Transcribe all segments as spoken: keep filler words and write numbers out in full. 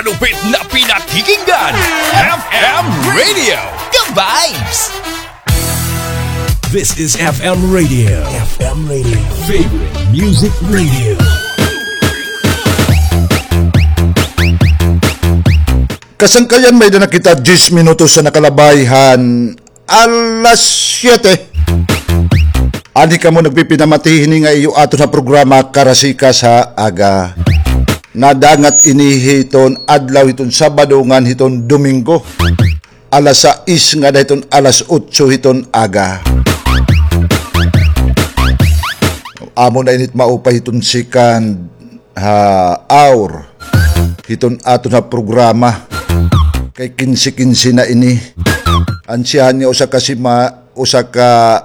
Malupit na pinakikinggan, F M Radio, The Vibes. This is F M Radio. F M Radio. Favorite Music Radio. Kasangkayan, may-ada na kita diyes minutos an nakalabay han alas siyete. Ani kamo nagpipinamati hini nga iyo aton ha programa Karasikas ha Aga. Nadangat ini hiton adlaw hiton Sabado ngan hiton Domingo. Alas sais ngada hiton alas otso hiton aga. Amo na ini it maupay hiton second ha hour hiton aton ha programa. Kay kinse kinse na ini. Ansyahan niya usa ka sima-, usa ka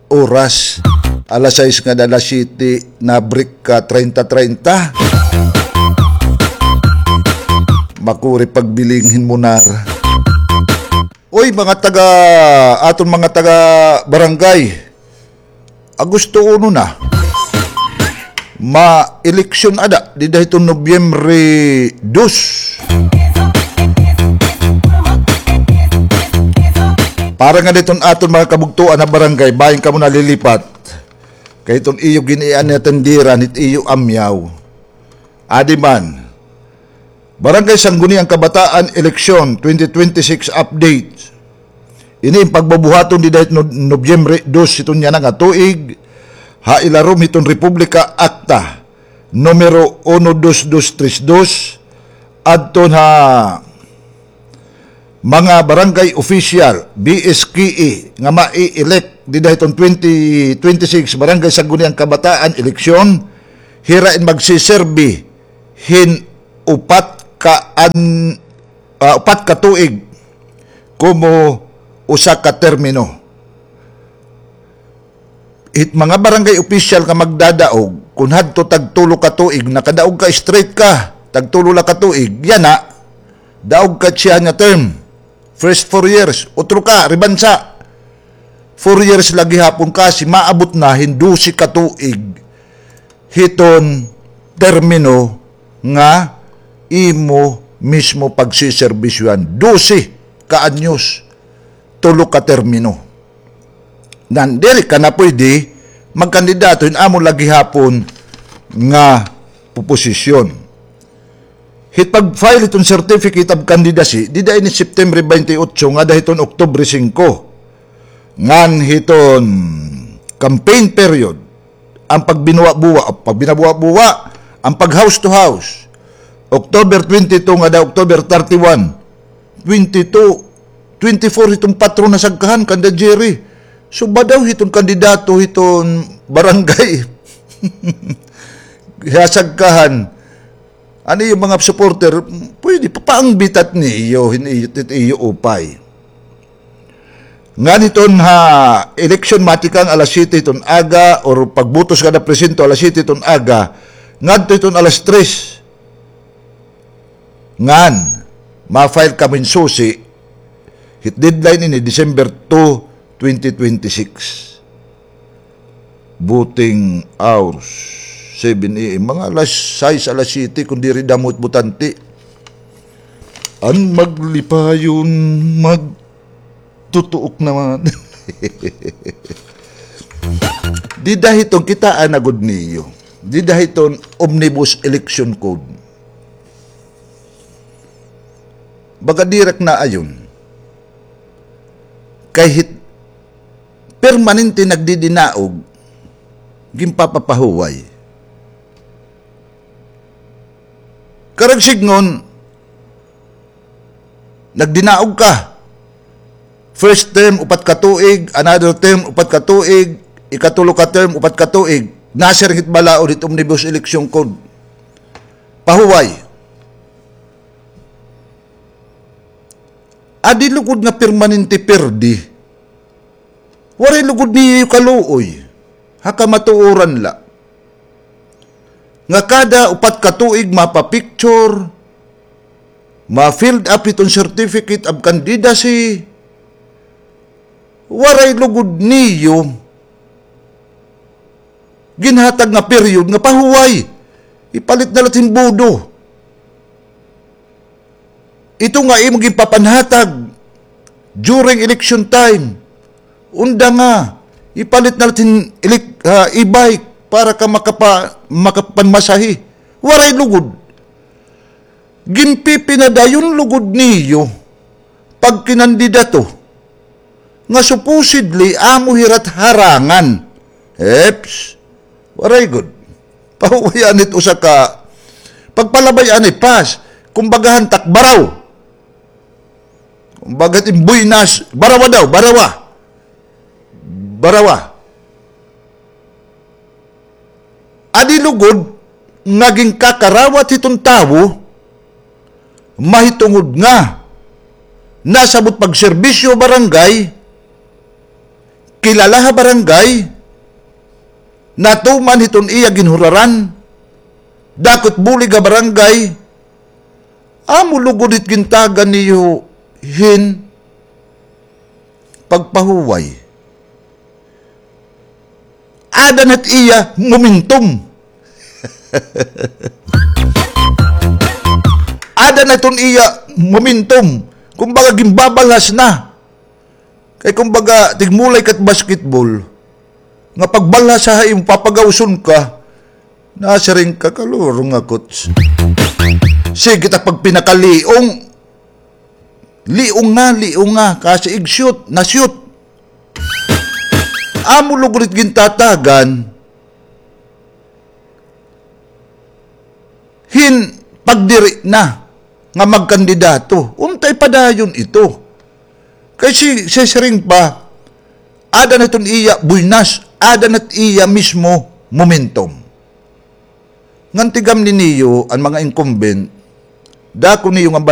oras. Alas sais ngada alas siyete, na-break ka treinta treinta. Makuri pagbiling hin munar. Uy, mga taga, aton mga taga barangay, Agosto uno na. Ma-eleksyon ada dida hiton Nobyembre dos. Para ngada hiton aton mga kabugtoan ha barangay, bangin kamo nalilipat. Kay hiton iyo gin-ian nga tindiran, hit iyo amyaw. Adi man. Barangay Sangguniang Kabataan Eleksyon twenty twenty-six update. Ini in pagbubuhaton dida hit No-, Nobyembre dos hiton yana nga tuig, ha ilarom hiton Republika Acta numero uno dos dos tres dos, adton ha mga barangay official, B S K E, nga mai-elect dida hiton twenty twenty-six Barangay Sangguniang Kabataan Eleksyon, hira in magsiserbi hin upat ka an-, ah, upat ka tuig komo usa ka termino. It mga barangay official nga magdadaog, kon hadto tag tulo ka tuig, nakadaog ka, straight ka, tag tulo la ka tuig, yana, daog ka siya nga term. First four years, utro ka, ribansa. Four years la gihapon kasi maabot na hin dose ka tuig hiton termino nga imo mismo pagsiserbisyohan. Dose ka anyos, tulo ka termino. Nan, diri ka na pwede magkandidato hin amo la gihapon nga poposisyon. Hit pag-file hiton certificate of candidacy, dida ini September twenty-eight ngada hiton Oktubre singko. Ngan hiton campaign period, ang pagbinuwa-buwa, pagbinabuwa-buwa, ang pag-house to house, October twenty-two ngada October thirty-one, twenty-two, twenty-four hiton patron na sagkahan kanda Jerry. So, badaw hiton kandidato hiton barangay. Hasagkahan. An iyo mga supporter, pwede, papaangbitat niyo, hin iyo, iyo upay. Ngan hiton ha election matikang alas siyete hiton aga, or pagbutos kada presinto alas siyete hiton aga, ngadto hiton alas tres. Ngan, ma-file kamo hin susi, hit deadline ini, December two, twenty twenty-six. Voting hours, seven A M. Mga alas sais, alas siyete, kun diri damo it botante. An maglipayon, magtutuok naman. Dida hiton kitaa na gud niyo. Dida hiton Omnibus Election Code. Baga diri ak naayon. Kay hit permanente nagdidinaog, ginpapapahuway. Karuyag sidngon, nagdinaog ka. First term, upat ka tuig. Another term, upat ka tuig. Ikatulo ka term, upat ka tuig. Nasiring hit balaod hit Omnibus Election Code. Pahuway. Adi lugod nga permanente pirdi. Waray lugod niyo kaluoy. Ha kamatuoran la. Nga kada upat ka tuig mapa-picture, ma-filled up hiton certificate of candidacy, waray lugod niyo ginhatag nga period nga pahuway. Ipalit na la hin bodo. Ito nga imo ginpapanhatag during election time. Unda nga, ipalit na la hin elec-, ah, e-bike para ka makapa-, makapanmasahe. Waray lugod. Ginpipinadayon lugod niyo pagkinandidato nga supposedly amo hira it harangan. Eps, waray gud. Pahuway anit usa ka pagpalabay ani, pass. Kumbaga han takbaraw. Kumbaga it im buenas, barawa daw, barawa. Barawa. Adi lugod nga ginkakarawat hiton tawo, mahitungod nga nasabot pagserbisyo ha barangay, kilala ha barangay, natuman hiton iya ginhuraran, dako it bulig ha barangay, amo lugod it gintagan niyo hin pagpahuway. Aada na it iya momentum. Aada na iton iya momentum. Kumbaga, ginbabalhas na. Kay kumbaga, tigmulay ka it basketball. Nga pagbalhas ha imo, papagawson ka. Nasiring ka, kalurong ako. Sige ta pagpinakaliong. Liong nga, liong nga. Kasi ig-shoot, na-shoot. Amo lugod it gintatagan hin pagdiri na nga magkandidato. Untay padayon ito. Kay si, si siring pa, aada na iton iya buenas, aada na it iya mismo momentum. Ngan tigam ni niyo an mga incumbent, dako niyo nga